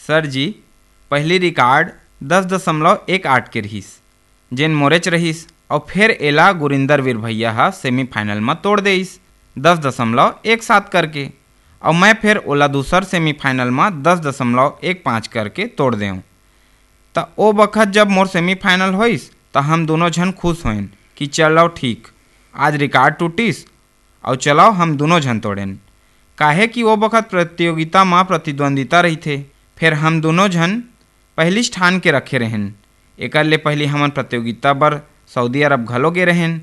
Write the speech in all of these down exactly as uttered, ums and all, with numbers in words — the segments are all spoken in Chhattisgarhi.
सर जी, पहली रिकॉर्ड दस दशमलव एक आठ के रहिस, जेन मोरेच रहिस, अउ फेर एला गुरिंदर वीर भैया ह सेमीफाइनल म तोड़ देइस, दस दशमलव एक सात करके, अउ मैं फेर ओला दूसर सेमीफाइनल म दस दशमलव एक पाँच करके तोड़ देंव। त ओ बखत जब मोर सेमीफाइनल होइस, त हम दुनों झन खुश होइन कि चलव ठीक, आज रिकॉर्ड टूटिस, अउ चलव हम दुनों झन तोड़ेन, काहे कि ओ बखत प्रतियोगिता म प्रतिद्वंदिता रहिथे। फेर हम दुनों झन पहिलीच ठान के रखे रहेन। एकर ले पहिली हमन प्रतियोगिता बर सऊदी अरब घलो गे रहेन।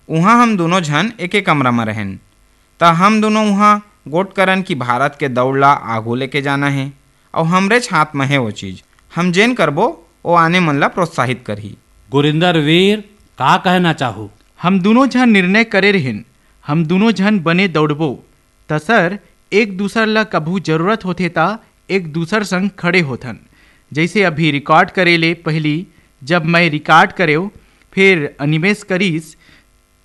उहाँ हम दुनों झन एके कमरा म रहेन। त हम दुनों उहाँ गोठ करन कि भारत के दउड़ ला आगू लेके जाना हे, अउ हमरेच हाथ म हे ओ चीज। हम जेन करबो, ओ आने मन ला प्रोत्साहित करही। गुरिंदर वीर, का कहना चाहू? हम दुनों झन निर्णय करे रहेन, हम दुनों झन बने दउड़बो। त सर, एक दूसर ला कभू जरूरत होथे त एक दूसर संग खड़े होथन। जइसे अभी रिकॉर्ड करे ले पहिली जब मैं रिकॉर्ड करेव, फेर अनिमेश करिस,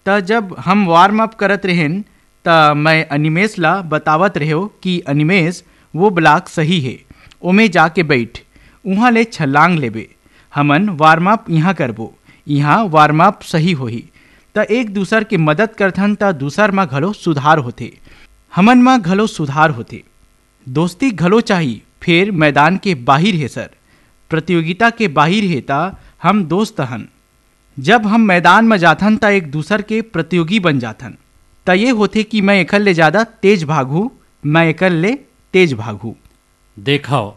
त जब हम वार्म अप करत रहेन, त मैं अनिमेश ला बतावत रहेव कि अनिमेश, वो ब्लॉक सही हे, ओमे जाके बइठ, उहाँ ले छलांग लेबे। हमन वार्म अप इहाँ करबो, इहाँ वार्म अप सही होही। त एक दूसर के मदद करथन, त दूसर म घलो सुधार होथे, हमन म घलो सुधार होथे। दोस्ती घलो चाही, फेर मैदान के बाहिर हे सर, प्रतियोगिता के बाहिर हे, त हम दोस्त हन। जब हम मैदान म जाथन, त एक दूसर के प्रतियोगी बन जाथन। त ये होथे कि मैं एकर ले ज्यादा तेज भागहूँ, मैं एकर ले तेज भागहूँ। देखव,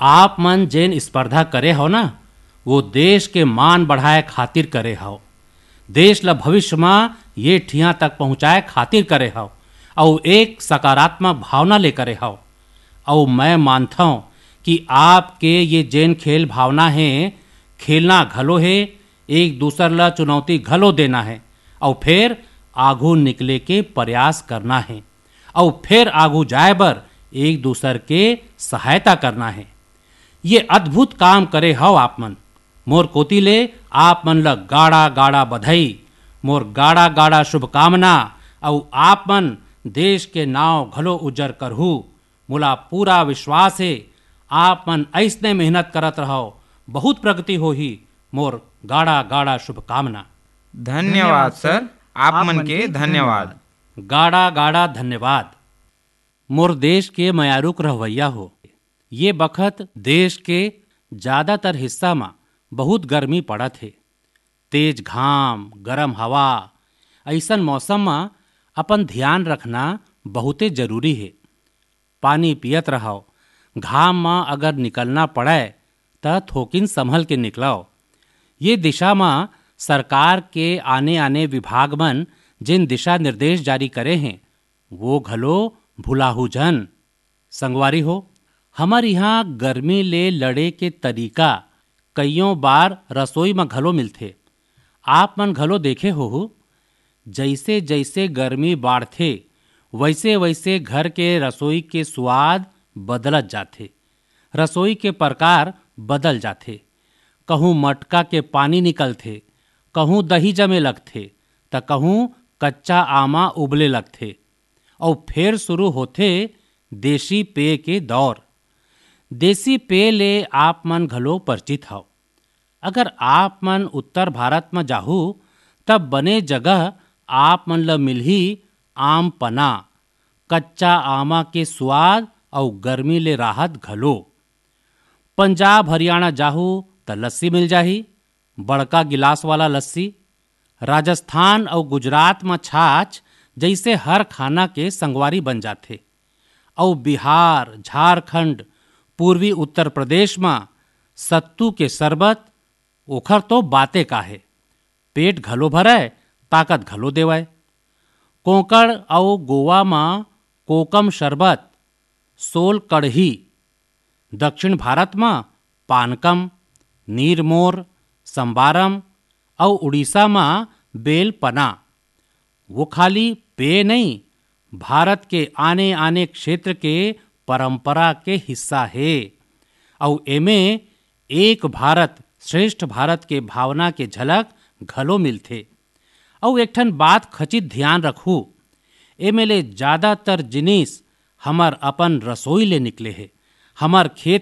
आप मन जेन स्पर्धा करे हव ना, वो देश के मान बढ़ाए खातिर करे हव, देश ल भविष्य म ये ठिया तक पहुँचाए खातिर करे हव, अउ एक सकारात्मक भावना ले करे हव। अउ मैं मानथव कि आपके ये जेन खेल भावना हे, खेलना घलो हे, एक दूसर ल चुनौती घलो देना हे, अउ फेर आघू निकले के प्रयास करना हे, अउ फेर आघू जाए बर एक दूसर के सहायता करना हे। ये अद्भुत काम करे हव आप मन। मोर कोति ले आप मन ल गाड़ा गाड़ा बधाई, मोर गाड़ा गाड़ा शुभकामना, अउ आप मन देश के नाव घलो उज्जर करहू। मोला पूरा विश्वास हे, आप मन अइसने मेहनत करत रहव, बहुत प्रगति होही। मोर गाड़ा गाड़ा शुभकामना। धन्यवाद सर, आप मन के धन्यवाद। गाड़ा गाड़ा धन्यवाद। मोर देश के मयारुक रहवैया हो, ये बखत देश के ज्यादातर हिस्सा म बहुत गर्मी पड़त हे। तेज घाम, गरम हवा, अइसन मौसम म अपन ध्यान रखना बहुते जरूरी हे। पानी पियत रहव, घाम म अगर निकलना पड़य, त थोकिन संभल के निकलव। ये दिशा म सरकार के आने-आने विभाग मन जेन दिशा निर्देश जारी करे हें, वो घलो भुलाहू झन। संगवारी हो, हमर इहाँ गर्मी ले लड़े के तरीका कइयों बार रसोई म घलो मिलथे। आप मन घलो देखे होहू, जइसे-जइसे गर्मी बाढ़थे, वइसे-वइसे घर के रसोई के सुवाद बदलत जाथे, रसोई के प्रकार बदल जाथे। कहूँ मटका के पानी निकलथे, कहूँ दही जमे लगथे, त कहूँ कच्चा आमा उबले लगथे। अउ फेर शुरू होथे देसी पेय के दौर। देसी पेय ले आप मन घलो परिचित हव। अगर आप मन उत्तर भारत म जाहू, तब बने जगह आप मन ल मिलही आम पना, कच्चा आमा के सुवाद अउ गर्मी ले राहत घलो। पंजाब हरियाणा जाहू, त लस्सी मिल जाही, बड़का गिलास वाला लस्सी। राजस्थान अउ गुजरात म छाछ जइसे हर खाना के संगवारी बन जाथे। अउ बिहार, झारखंड, पूर्वी उत्तर प्रदेश म सत्तू के शरबत, ओखर तो बाते का हे। पेट घलो भरय, ताकत घलो देवय। कोंकण अउ गोवा म कोकम शरबत, सोल कड़ही, दक्षिण भारत म पानकम, नीरमोर, संबारम अउ उड़ीसा म बेल पना। वो खाली पेय नइ, भारत के आने-आने क्षेत्र के परंपरा के हिस्सा हे। अउ एमे एक भारत श्रेष्ठ भारत के भावना के झलक घलो मिलथे। अउ एक ठन बात खचित धियान रखहू, एमे ले जादातर जिनिस हमर अपन रसोई ले निकले हे। हमर खेत